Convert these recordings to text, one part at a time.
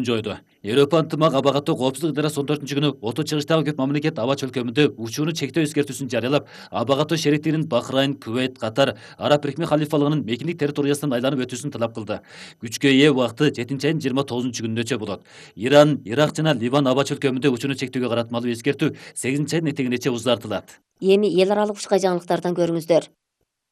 жойду. Европа ынтымак аба каттоо коопсуздук идарасы 14-күнү оту чыгыштагы көп мамлекет аба чөлкөмүндө учууну чектөө эскертүүсүн жарыялап, аба каттоо шериктигинин Бахрайн, Кувейт, Катар, Араб Бирикме халифалыгынын мекиндик территориясынан айланып өтүүсүн талап кылды. Күчкө ээ убакыты 7-айдын 29-күнүнөчө болот. Иран, Ирак жана Ливан аба чөлкөмүндө учууну чектөөгө каратмалуу эскертүү 8-айдын этегинече узартылат. Эми эл аралык ушка жаңылыктардан көрүңүздөр.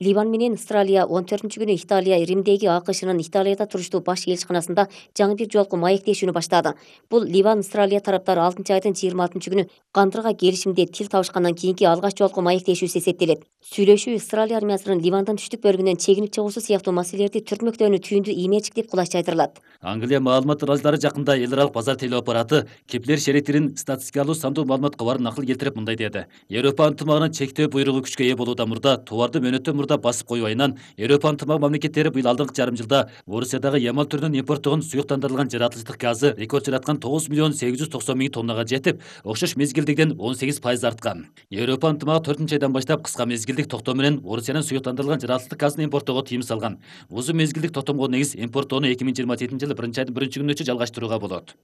Ливан менен Австралия 14-күнү Италия Римдеги АКШнын Италияда туруштуу баш элчиканасында жаңы бир жолку маектешүүнү баштады. Бул Ливан Австралия тараптары 6-айдын 26-күнү кандырга келишимде тил табышкандан кийинки алгач жолку маектешүүсү эсептелет. Сүйлөшүү Австралия армиясынын Ливандын түштүк бөлүгүнөн чегинип чыгуусу сыяктуу маселелерди түртмөктөөнү түйүндү имечик деп кулайчы айтырылат. Англия маалымат ыраазылары жакында эл аралык базар телөө аппараты Кеплер шериктигинин статистикалуу сандуу маалымат кабарын акыл келтирип мындай деди. Европа ынтымагынын чектөө буйругу күчкө ээ болуудан мурда товарды мөөнөттөн мурда басып коюу айынан Европа ынтымак мамлекеттери быйыл алдыңкы жарым жылда Орусиядагы ямал түрүнөн импорттогон суюктандырылган жаратылыштык газы рекорд жараткан 9.890.000 тоннага жетип, окшош мезгилдигиден 18% арткан. Европа ынтымагы 4-айдан баштап кыска мезгилдик токтом менен Орусиянын суюктандырылган жаратылыштык газын импорттоого тыйым салган. Узун мезгилдик токтомго негиз импорттоону 2027-жылы 1-айдын 1-күнүнөчө жалгаштырууга болот.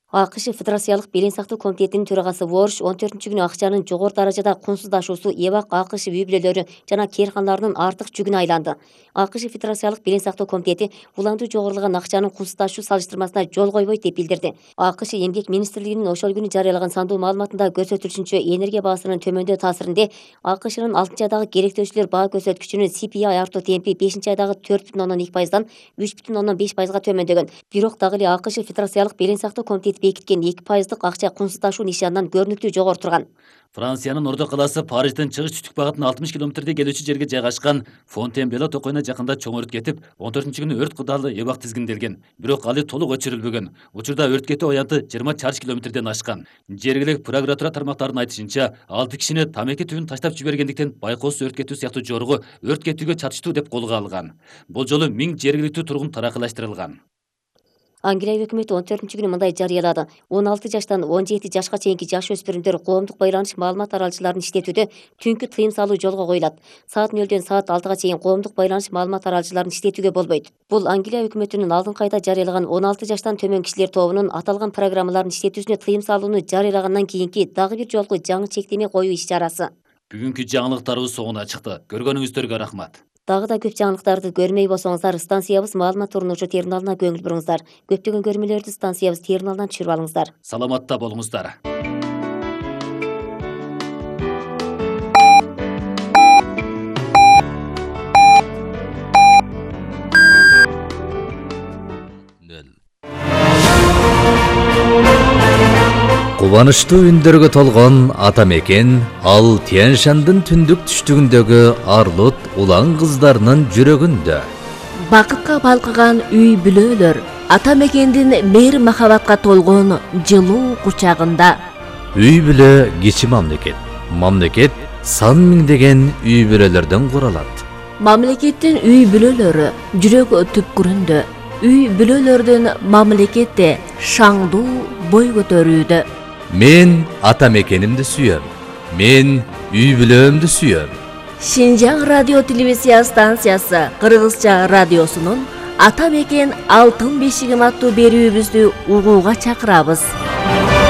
АКШ Федерациялык белең сактоо комитетинин төрагасы Ворш 14-күнү акчанын жогору даражада кунсуздашуусу эбак АКШ үй бүлөлөрү жана кээрканаларынын артык жүгүнө айланды. АКШ Федерациялык белең сактоо комитети уланду жогорулган акчанын кунсуздашуу салыштырмасына жол койбойт деп билдирди. АКШ Эмгек министрлигинин ошол күнү жарыялаган сандуу маалыматында көрсөтүлүшүнчө энергия баасынын төмөндөө таасиринде АКШнын 6-айдагы керектөөчүлөр баа көрсөткүчүнүн CPI артуу темпи 5-айдагы 4,2%дан 3,5%га төмөндөгөн. Бирок дагы эле АКШ Федерациялык белең сактоо комитети бекиткен 2% акча кунсуздашуу нишанынан көрүнүктүү жогору турган. Франциянын Ордо калаасы Парижден чыгыш түштүк багытына 60 километрдей келүүчү жерге жайгашкан Фонтенбло токойуна жакында чоң өрт кетип, 14-күнү өрт кудалы эбак тизгинделген. Бирок алы толук өчүрүлбөгөн. Учурда өрт кетүү аянты 20 чарчы километрден ашкан. Жергиликтүү прокуратура тармактарынын айтышынча, 6 кишини тамеки түбүн таштап жибергендиктен байкоосуз өрт кетүү сыяктуу жоругу өрт кетүүгө чатыштуу деп колго алган. Бул жолу 1000 жергиликтүү тургун таракылаштырылган. Англия өкмөтү 14-күнү мындай жарыялады. 16 жаштан 17 жашка чейинки жаш өспүрүмдөр коомдук байланыш маалымат аралчыларын иштетүүдө түнкү тыйым салуу жолго коюлат. Саат 0-дөн саат 6-га чейин коомдук байланыш маалымат аралчыларын иштетүүгө болбойт. Бул Англия өкмөтүнүн алдыңкы айда жарыялаган 16 жаштан төмөн кишилер тобунун аталган программаларын иштетүүсүнө тыйым салууну жарыялагандан кийинки дагы бир жолку жаңы чектеме коюу иш-чарасы. Бүгүнкү жаңылыктарыбыз соңуна чыкты. Көргөнүңүздөргө рахмат. Дагы да көп жаңылыктарды көрмөй болсоңуздар, станциябыз маалымат турунуучу терминалына көңүл буруңуздар. Көптөгөн көрмөлөрдү станциябыз терминалынан түшүрүп алыңыздар. Саламатта болуңуздар. Кубанычтуу үндөргө толгон ата мекен ал Тянь-Шандын түндүк түштүгүндөгү Арлут улан кыздарынын жүрөгүндө. Бакытка балкыган үй бүлөлөр ата мекендин мейир махабатка толгон жылуу кучагында. Үй бүлө кичи мамлекет. Мамлекет сан миңдеген үй бүлөлөрдөн куралат. Мамлекеттин үй бүлөлөрү жүрөк түпкүрүндө. Үй бүлөлөрдүн мамлекетте шаңдуу бой көтөрүүдө. Мен ата мекенимди сүйөм. Мен үй бүлөмдү сүйөм. Шинжаң радио телевизия станциясы Кыргызча радиосунун Ата мекен алтын бешигим аттуу берүүбүздү угууга чакырабыз.